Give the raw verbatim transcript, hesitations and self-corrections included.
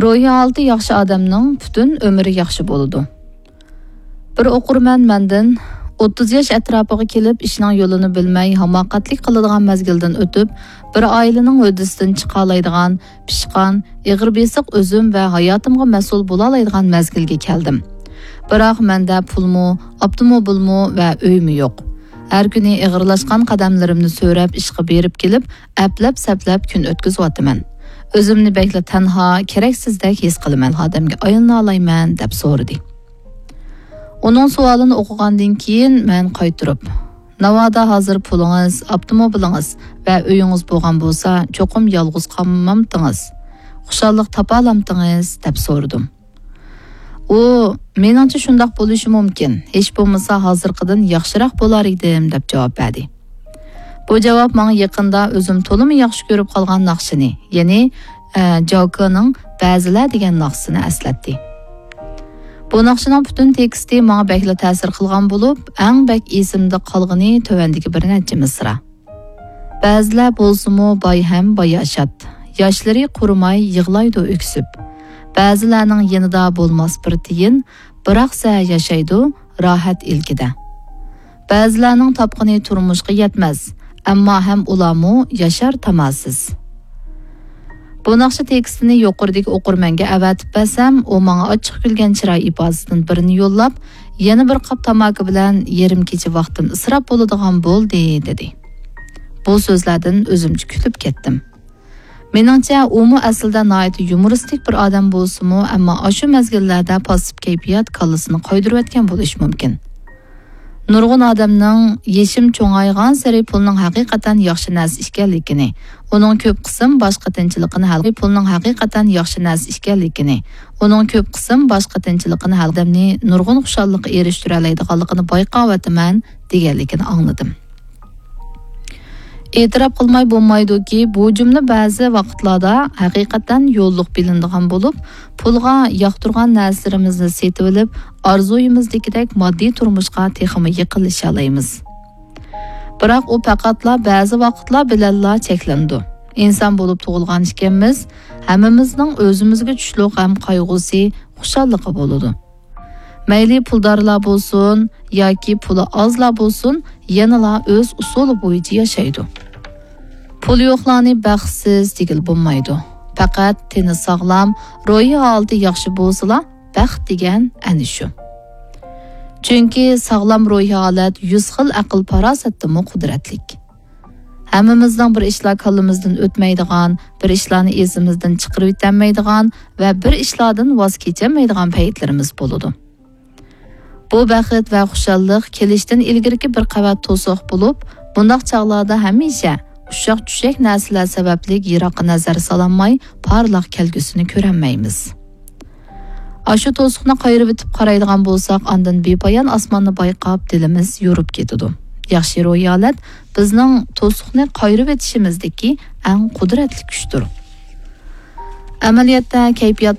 روھىي ھالىتى ياخشى ئادەمنىڭ پۈتۈن ئۆمرى ياخشى بولىدۇ. بىر ئوقۇرمەن مەندىن، ئوتتۇز ياش ئەتراپىغا كېلىپ، ئىشنىڭ يولىنى بىلمەي، ھاماقەتلىك قىلىدىغان مەزگىلدىن ئۆتۈپ، بىر ئائىلىنىڭ ھۆددىسىدىن چىقالايدىغان، پىشقان، ئېغىر بېسىق ئۆزۈم ۋە ھاياتىمغا مەسئۇل بولالايدىغان مەزگىلگە كەلدىم. بىراق مەندە پۇلمۇ، ئاپتوموبىلمۇ ۋە ئۆيمۇ يوق. ھەر كۈنى ئېغىرلاشقان قەدەملىرىمنى سۆرەپ ئىشقا بېرىپ كېلىپ، ئەپلەپ-سەپلەپ كۈن ئۆتكۈزۈۋاتىمەن. ئۆزۈمنى بەكلا تەنھا، كېرەكسىزدەك ھېس قىلىمەن، ئادەمگە ئايلىنالايمەن، دەپ سورىدى. ئۇنىڭ سوئالىنى ئوقۇغاندىن كېيىن مەن قايتۇرۇپ، ناۋادا ھازىر پۇلىڭىز، ئاپتوموبىلىڭىز ۋە ئۆيىڭىز بولغان بولسا، چوقۇم يالغۇز قالمامتىڭىز؟ خۇشاللىق تاپالامتىڭىز؟ دەپ سورىدىم. ئۇ، مېنىڭچە شۇنداق بولۇشى مۇمكىن، ھېچ بولمىسا ھازىرقىدىن ياخشىراق بولار ئىدىم، دەپ جاۋاب بەردى. بۇ جاۋاب ماڭا يېقىندا ئۆزۈم تولىمۇ ياخشى كۆرۈپ قالغان ناخشىنى، يەنى، ئە، جاۋكېنىڭ بەزىلەر دېگەن ناخشىسىنى ئەسلەتتى. بۇ ناخشىنىڭ پۈتۈن تېكىستى ماڭا بەكلا تەسىر قىلغان بولۇپ، ئەڭ بەك ئېسىمدە قالغىنى تۆۋەندىكى بىر نەچچە مىسرا. بەزىلەر بولسىمۇ باي ھەم باياشات، ياشلىرى قۇرۇماي يىغلايدۇ ئۆكسۈپ. بەزىلەرنىڭ يېنىدا بولماس بىر تىيىن، بىراقسە ياشايدۇ راھەت ئىلكىدە. بەزىلەرنىڭ تاپقىنى تۇرمۇشقا يەتمەس، ئەمما ھەم ئۇلارمۇ ياشار تاماسىز. بۇ ناخشا تېكىستىنى يۇقىرىدىكى ئوقۇرمەنگە ئەۋەتىپ بەرسەم، ئۇ ماڭا ئاچچىق كۈلگەن چىراي ئىپادىسىدىن بىرنى يوللاپ، يەنە بىر قاپ تاماكا بىلەن يېرىم كېچە ۋاقتىم ئىسراپ بولىدىغان بولدى، دېدى. بۇ سۆزلەردىن ئۆزۈمچە كۈلۈپ كەتتىم. مېنىڭچە، ئۇمۇ ئەسلىدە ناھايىتى يۇمۇرىستىك بىر ئادەم بولسىمۇ، ئەمما ئاشۇ مەزگىللەردە پاسسىپ كەيپىيات كاللىسىنى قايدۇرۇۋەتكەن بولۇشى مۇمكىن. نۇرغۇن ئادەمنىڭ يېشىم چوڭايغانسېرى پۇلنىڭ ھەقىقەتەن ياخشى نەرسە ئىكەنلىكىنى، ئۇنىڭ كۆپ قىسىم باش قېتىنچىلىقىنى ھەل، پۇلنىڭ ھەقىقەتەن ياخشى نەرسە ئىكەنلىكىنى، ئۇنىڭ كۆپ قىسىم باش قېتىنچىلىقىنى ھەل ئادەمنى نۇرغۇن خۇشاللىققا ئېرىشتۈرەلەيدىغانلىقىنى بايقاۋاتىمەن، دېگەنلىكىنى ئاڭلىدىم. ئېتىراپ قىلماي بولمايدۇكى، بۇ جۈملە بەزى ۋاقىتلاردا ھەقىقەتەن يوللۇق بىلىنىدىغان بولۇپ، پۇلغا ياقتۇرغان نەرسىلىرىمىزنى سېتىۋېلىپ، ئارزۇيىمىزدىكىدەك ماددىي تۇرمۇشقا تېخىمۇ يېقىنلىشالايمىز. بىراق ئۇ پەقەتلا بەزى ۋاقىتلار بىلەنلا چەكلىنىدۇ. ئىنسان بولۇپ تۇغۇلغان ئىكەنمىز، ھەممىمىزنىڭ ئۆزىمىزگە چۈشلۈق غەم قايغۇسى، خۇشاللىقى بولىدۇ. مەيلى پۇلدارلار بولسۇن ياكى پۇلى ئازلار بولسۇن، يەنىلا ئۆز ئۇسۇلى بويىچە ياشايدۇ. پۇلى يوقلارنى بەختسىز دېگىلى بولمايدۇ. پەقەت تېنى ساغلام، روھىي ھالىتى ياخشى بولسىلا، بەخت دېگەن ئەنە شۇ. چۈنكى ساغلام روھىي ھالەت يۈز خىل ئەقىل-پاراسەتتىنمۇ قۇدرەتلىك. ھەممىمىزنىڭ بىر ئىشلار كاللىمىزدىن ئۆتمەيدىغان، بىر ئىشلارنى ئېسىمىزدىن چىقىرىۋېتەلمەيدىغان ۋە بىر ئىشلاردىن ۋاز كېچەلمەيدىغان پەيتلىرىمىز بولىدۇ. بۇ بەخت ۋە خۇشاللىق كېلىشتىن ئىلگىرىكى بىر قەۋەت توسۇق بولۇپ، بۇنداق چاغلاردا ھەمىشە ئۇششاق-چۈششەك نەرسىلەر سەۋەبلىك يىراققا نەزەر سالالماي، پارلاق كەلگۈسىنى كۆرەلمەيمىز. ئاشۇ توسۇقنى قايرىۋېتىپ قارايدىغان بولساق، ئاندىن بىپايان ئاسماننى بايقاپ، دىلىمىز يورۇپ كېتىدۇ. ياخشى روھىي ھالەت بىزنىڭ توسۇقنى قايرىۋېتىشىمىزدىكى ئەڭ قۇدرەتلىك كۈچتۇر. ئەمەلىيەتتە، كەيپىيات